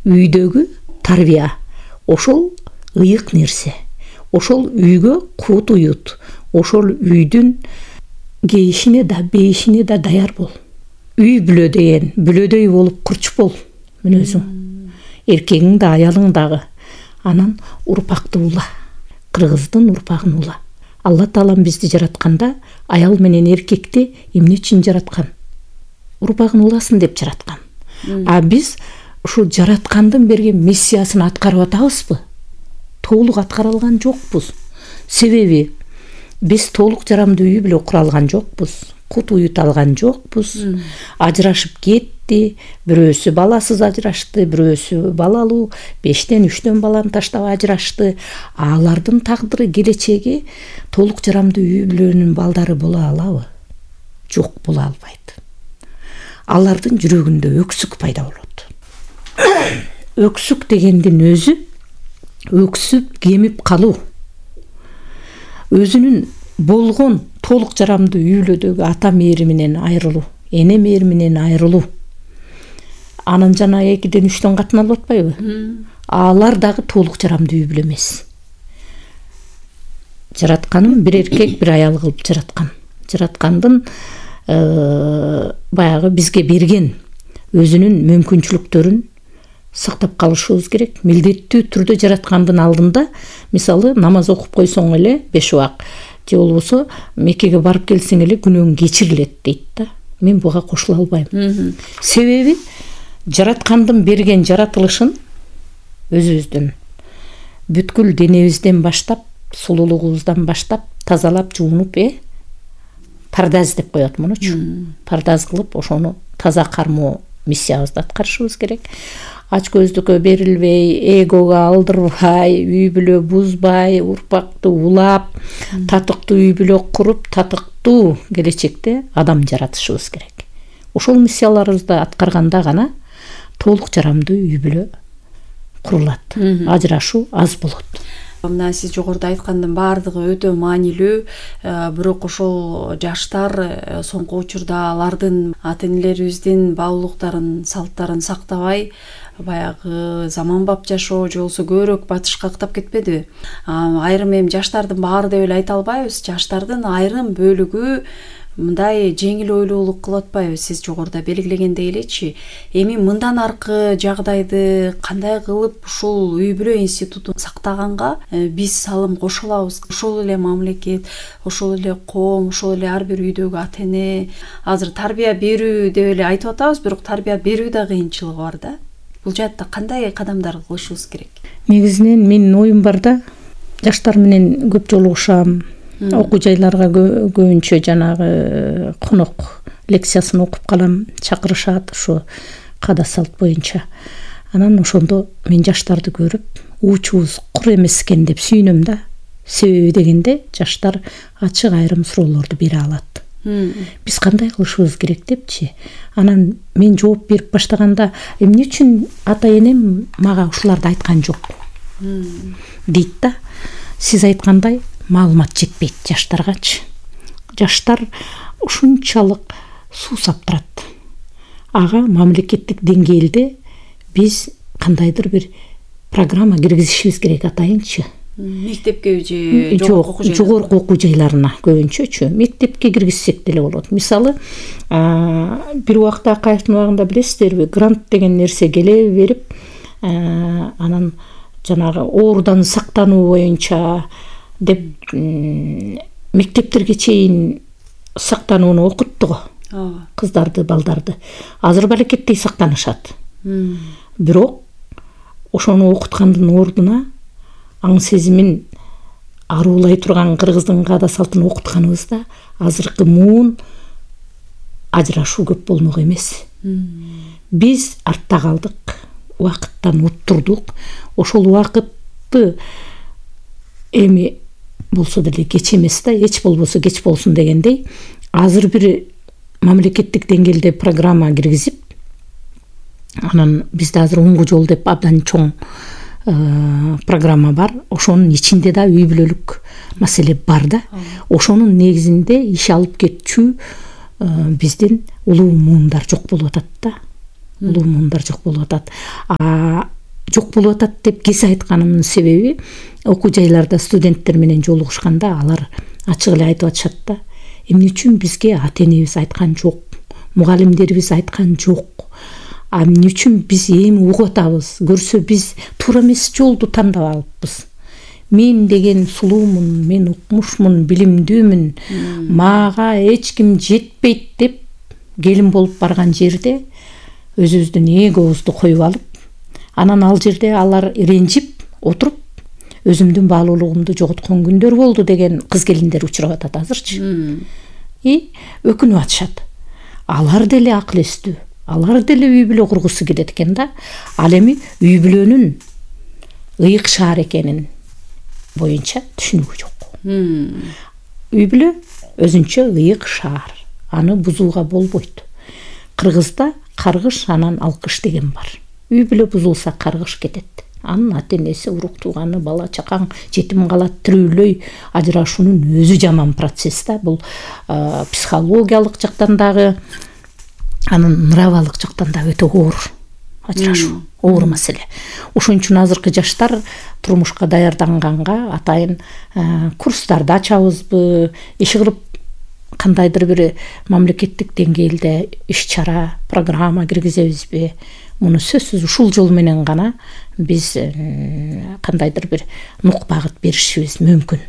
үйдөгү тарбия ошол ыйык нерсе, ошол үйгө кут уют, ошол үйдүн кейишине да бейишине да даяр бол. Үй бүлө деген бүлөдөй болуп курч бол мүнөзүң. Эркегиң да аялың дагы. Анан урпакты ула. Кыргыздын урпагын ула. Алла Таалам бизди жаратканда аял менен эркекти эмне үчүн жараткан? Урпагын уласын деп жараткан. А биз ушул жараткандын берген миссиясын аткарып атабызбы? Толук аткара алган жокпуз. Себеби биз толук жарамдуу үй бүлө кура алган жокпуз. Кут уют алган жокпуз. Ажырашып кетти, бирөөсү баласыз ажырашты, бирөөсү балалуу, 5-тен 3-төн баланы таштап ажырашты. Алардын тагдыры, келечеги толук жарамдуу үй бүлөнүн балдары боло алабы? Жок, боло албайт. Алардын жүрөгүндө өксүк пайда болот. Өксүк дегендин өзү өксүп кемип калуу. Өзүнүн болгон толук жарамдуу үй бүлөдөгү ата мээриминен айрылуу, эне мээриминен айрылуу. Анан жана 2-ден 3-төн катын алып атпайбы? Алар дагы толук жарамдуу үй бүлө эмес. Жаратканын бир эркек, бир аял кылып жараткан. Жараткандын баягы бизге берген өзүнүн мүмкүнчүлүктөрүн сактап калышыбыз керек. Милдеттүү түрдө жараткандын алдында, мисалы, намаз окуп койсоң эле 5 убак, же болбосо Меккеге барып келсең эле күнөөң кечирилет дейт да. Мен буга кошула албайм. Себеби жараткандын берген жаратылышын өзүбүздүн бүткүл денебизден баштап, сулуулугубуздан баштап тазалап, жуунуп, пардаз деп коет мунучу. Пардаз кылып, ошону таза кармоо миссиябызды аткарышыбыз керек. Ач көздүккө берилбей, эгого алдырбай, үй бүлө бузбай, урпакты улап, татыктуу үй бүлө куруп, татыктуу келечекте адам жаратышыбыз керек. Ошол миссияларыбызды аткарганда гана толук жарамдуу үй бүлө курулат. Ажырашуу аз болот. Мына сиз жогоруда айткандын баардыгы өтө маанилүү, бирок ошол жаштар соңку учурда алардын ата-энелерибиздин баалуулуктарын, салттарын сактабай, баягы заманбап жашоо же болбосо көбүрөөк батышка каттап кетпедиби? Айрым эми жаштардын баары деп эле айта албайбыз. Жаштардын айрым бөлүгү мындай жеңил ойлуулук кылып атпайбы? Сиз жогоруда белгилегендей элечи, эми мындан аркы жагдайды кандай кылып ушул үй бүлө институтун сактаганга биз салым кошо алабыз? Ошол эле мамлекет, ошол эле коом, ошол эле ар бир үйдөгү ата-эне, азыр тарбия берүү деп эле айтып атабыз, бирок тарбия берүү да кыйынчылыгы бар да. Бул жаатта кандай кадамдар кылышыбыз керек? Негизинен менин оюм бар да, жаштар менен көп жолугушам. Окуу жайларга көбүнчө жанагы конок лекциясын окуп калам, чакырышат ушу када салт боюнча. Анан ошондо мен жаштарды көрүп, уучубуз кур эмес экен деп сүйүнөм да. Себеби дегенде жаштар ачык айрым суроолорду бере алат. Биз кандай кылышыбыз керек депчи. Анан мен жооп берип баштаганда, эмне үчүн ата-энем мага ушуларды айткан жок? Дейт да. Сиз айткандай маалымат жетпейт жаштаргачы. Жаштар ушунчалык суу саптырат. Ага мамлекеттик деңгээлде биз кандайдыр бир программа киргизишибиз керек атайынчы. Мектепке же жогорку окуу жайларына көбүнчөчү. Мектепке киргизсек деле болот. Мисалы, бир убакта Акаевдин убагында билесиздерби, грант деген нерсе келе берип, анан жанагы оорудан сактануу боюнча деп мектептерге чейин сактанууну окутту го. Кыздарды, балдарды. Азыр балекеттей сактанышат. Бирок ошону окуткандын ордуна аң сезимин аруулай турган кыргыздын каада салтын окутканыбызда азыркы муун ажырашуу көп болмок эмес. Биз артта калдык, убакыттан уттурдук. Ошол убакытты эми болсо деле кеч эмес да, эч болбосо кеч болсун дегендей, азыр бир мамлекеттик деңгээлде программа киргизип, анан бизде азыр оңго жол деп абдан чоң программа бар. Ошонун ичинде да үй бүлөлүк маселе бар да. Ошонун негизинде иш алып кетчү биздин улуу муундар жок болуп атат да. Улуу муундар жок болуп атат. жок болуп атат деп кесе айтканымдын себеби, окуу жайларда студенттер менен жолугушканда алар ачык эле айтып атышат да, эмне үчүн бизге ата энебиз айткан жок, мугалимдерибиз айткан жок, эмне үчүн биз эми угуп атабыз, көрсө биз туура эмес жолду тандап алыппыз. Мен деген сулуумун, мен укмушмун, билимдүүмүн, мага эч ким жетпейт деп келин болуп барган жерде өзүбүздүн эгобузду коюп алып, анан ал жерде алар ренжип отуруп өзүмдүн баалуулугумду жоготкон күндөр болду деген кыз келиндер учурап атат азырчы. Өкүнүп атышат. Алар деле акыл эстүү, алар деле үй бүлө кургусу келет экен да. Ал эми үй бүлөнүн ыйык шаар экенин боюнча түшүнүгү жок. Үй бүлө өзүнчө ыйык шаар, аны бузууга болбойт. Кыргызда каргыш анан алкыш деген бар. Үй бүлө бузулса каргыш кетет. Анын ата энеси, урук тууганы, бала чакаң жетим калат, тирүүлөй ажырашуунун өзү жаман процесс да. Бул психологиялык жактан дагы, анын нравалык жактан да өтө оор ажырашуу, оор маселе. Ошон үчүн азыркы жаштар турмушка даярданганга атайын курстарды ачабызбы, иш кылып кандайдыр бир мамлекеттик деңгээлде иш чара, программа киргизебизби? Муну сөзсүз ушул жол менен гана биз кандайдыр бир нук багыт беришибиз мүмкүн.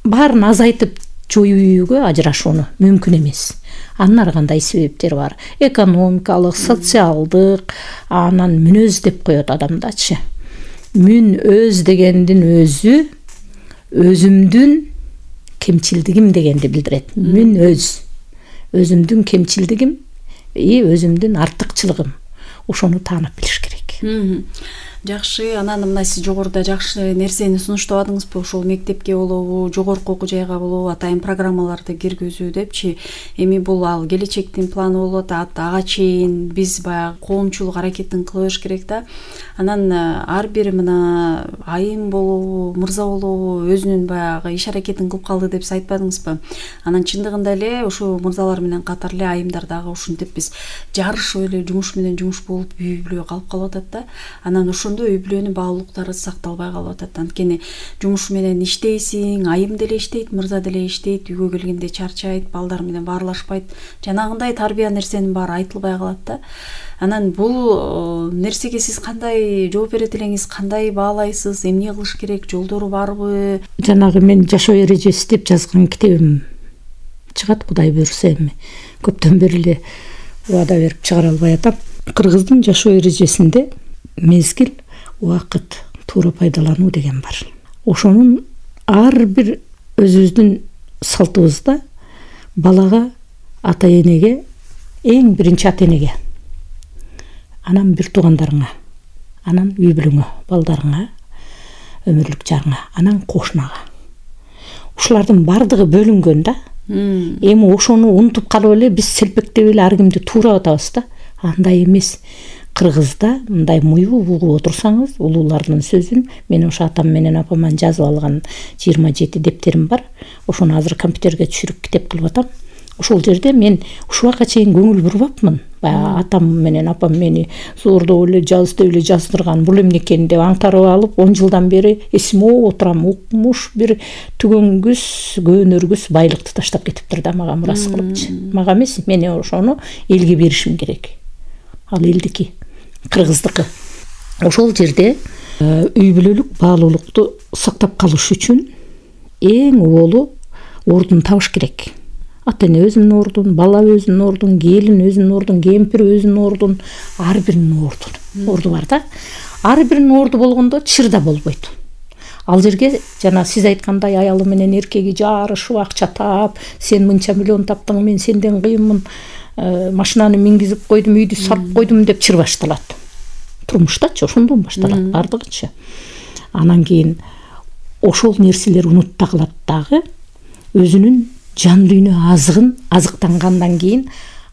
Баарын азайтып жоюуга ажырашууну мүмкүн эмес. Анын ар кандай себептери бар. Экономикалык, социалдык, анан мүнөз деп коет адамдачы. Мүн өз дегендин өзү өзүмдүн кемчилдигим дегенди билдирет. Мүн өзүмдүн кемчилдигим, өзүмдүн артыкчылыгым. Ошону таанып билиш керек. Жакшы, анан мына сиз жогоруда жакшы нерсени сунуштабадыңызбы? Ошол мектепке болобу, жогорку окуу жайга болобу, атайын программаларды киргизүү депчи. Эми бул ал келечектин планы болот, ага чейин биз баягы коомчулук аракетин кылыш керек да. Анан ар бир мына айым болобу, мырза болобу өзүнүн баягы иш аракетин кылып калды деп сиз айтпадыңызбы? Анан чындыгында эле ошо мырзалар менен катар эле айымдар дагы ушинтип биз жарышып эле жумуш менен жумуш болуп үй бүлө калып атат да. Анан ошондо үй бүлөнүн баалуулуктары сакталбай калып атат. Анткени жумуш менен иштейсиң, айым деле иштейт, мырза деле иштейт, үйгө келгенде чарчайт, балдар менен баарлашпайт. Жанагындай тарбия нерсенин баары айтылбай калат да. Анан бул нерсеге сиз кандай жооп берет элеңиз, кандай баалайсыз, эмне кылыш керек, жолдору барбы? Жанагы мен жашоо эрежеси деп жазган китебим чыгат, Кудай буйруса эми. Көптөн бери эле убада берип чыгара албай атам. Кыргыздын жашоо эрежесинде мезгил, убакыт, туура пайдалануу деген бар. Ошонун ар бир өзүбүздүн салтыбызда балага, ата энеге, эң биринчи ата энеге, анан бир туугандарыңа, анан үй бүлөңө, балдарыңа, өмүрлүк жарыңа, анан кошунага. Ушулардын бардыгы бөлүнгөн да. Эми ошону унутуп калып эле биз селпектеп эле ар кимди туурап атабыз да. Андай эмес. Кыргызда мындай муюп угуп отурсаңыз, улуулардын сөзүн, мен ошо атам менен апаман жазып алган 27 дептерим бар. Ошону азыр компьютерге түшүрүп китеп кылып атам. Ошол жерде мен ушуга чейин көңүл бурбапмын. Баягы атам менен апам мени зордоп эле жаздырган, бул эмне экен деп аңтарып алып, 10 жылдан бери эсиме отурам. Укмуш бир түгөнгүс, көөнөргүс байлыкты таштап кетиптир да мага мурас кылыпчы. Мага эмес, мен ошону элге беришим керек. Ал элдики, кыргыздыкы. Ошол жерде үй бүлөлүк баалуулукту сактап калыш үчүн эң уболу ордун табыш керек. Ата эне өзүнүн ордун, бала өзүнүн ордун, келин өзүнүн ордун, кемпир өзүнүн ордун, ар биринин орду бар да. Ар биринин орду болгондо чырда болбойт. Ал жерге жана сиз айткандай аялы менен эркеги жарышып акча таап, сен мынча миллион таптың, мен сенден кыйынмын, машинаны мингизип койдум, үйдү салып койдум деп чыр башталат. Турмуштачы ошондон башталат бардыгычы. Анан кийин ошол нерселер унутта калат дагы, өзүнүн жан дүйнө азыгын азыктангандан кийин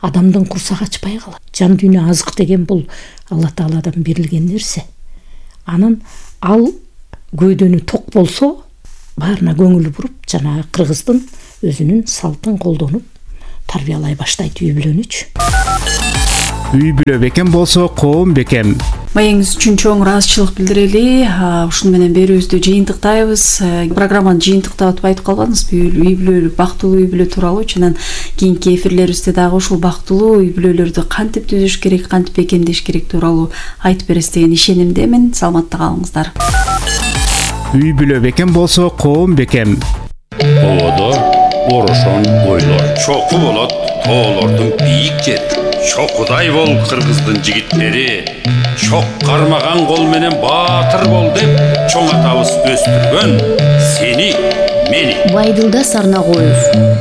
адамдын курсагы ачпай калат. Жан дүйнө азык деген бул Алла Тааладан берилген нерсе. Анан ал көйдөнү ток болсо, баарына көңүл буруп, жана кыргыздын өзүнүн салтын колдонуп тарбиялай баштайт үй бүлөнүчү. Үй бүлө бекем болсо коом бекем. Маегиңиз үчүн чоң ыраазычылык билдирели. Ушуну менен берүүбүздү жыйынтыктайбыз. Программаны жыйынтыктап айтып калбадыңызбы? Үй бүлө, бактылуу үй бүлө тууралуу. Чынан кийинки эфирлерибизде дагы ушул бактылуу үй бүлөлөрдү кантип түзүш керек, кантип бекемдеш керек тууралуу айтып бересиз деген ишенимдемин. Саламатта калыңыздар. Үй бүлө бекем болсо коом бекем. Оодо орошон ойлор чоку болот, тоолордун бийик жери. Чокудай бол кыргыздын жигиттери, чок кармаган кол менен баатыр бол деп чоң атабыз өстүргөн сени, мени. Байдылда Сарнагоев.